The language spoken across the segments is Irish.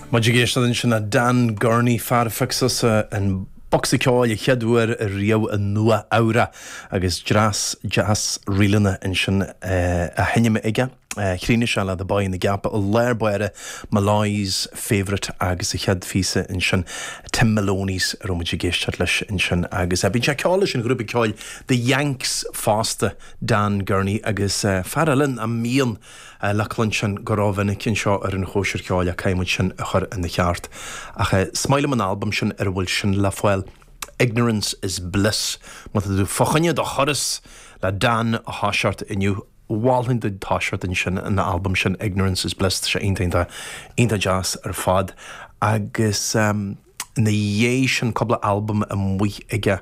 Muid ag éisteacht ansin le Dan Gurney, fear a phioc suas an bocsa ceoil an chéad uair riamh i Nua Eabhrac agus dreas deas ríleanna ansin á sheinm aige. Chríochnaigh sé le The Boy in the Gap i lár báire, Molloy's Favourite agus an chéad phíosa ansin Tim Maloney's a raibh muid ag éisteacht leis ansin agus bíonn sé ag ceol leis an ghrúpa ceoil The Yanks fosta, Dan Gurney agus fear eile a mbíonn le cluinstin go rómhinic anseo ar an Chóisir Cheoil ach caithfidh muid sin a chur ina cheart. Ach is maith liom an albam sin ar a bhfuil sin le fáil, Ignorance is Bliss. Má tá tú fá choinne do thuras le Dan a thoiseacht inniu, mholfainn duit toiseacht ansin an albam sin Ignorance is Bliss, tá sé iontach iontach iontach deas ar fad. Agus. Ina dhiaidh sin cúpla albam amuigh aige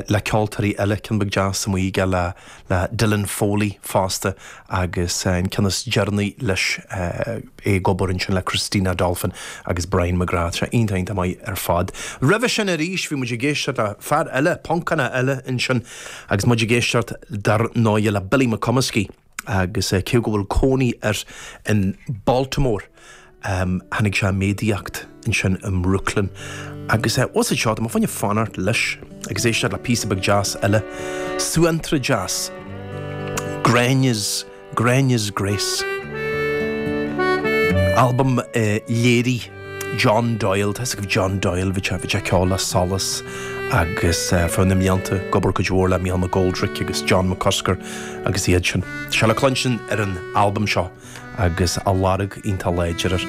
le ceoltóirí eile, ceann beag deas amuigh aige le le Dylan Foley fosta agus an ceann is deireanaí leis é ag obair ansin le Christina Dolphin agus Brian McGrath. Tá sé iontach iontach maith ar fad. Roimhe sin arís bhí muid ag éisteacht le fear eile, Poncánach eile ansin agus muid ag éisteacht dar ndóigh le Billy McComiskey. agus cé go bhfuil cónaí air in Baltimore, tháinig sé i méadaíocht ansin i mBrooklyn. Agus bhfuil fhios agat seo, tá mé fá choinne fanacht leis agus éisteacht le píosa beag deas eile, suantraí deas, Gráinne's, Gráinne's Grace. Albam a léirigh John Doyle, tá fhios agaibh John Doyle, bhí sé, bhí sé ag ceol le Solas agus ar feadh na mblianta ag obair cuid mhór le Mícheál McGoldrick agus John McCusker agus iad sin. Tá sé le cluinstin ar an albam seo agus a lorg iontach láidir air.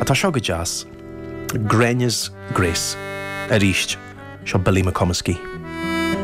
Ach tá seo go deas. Gráinne's Grace. Arís, seo Billy McComiskey.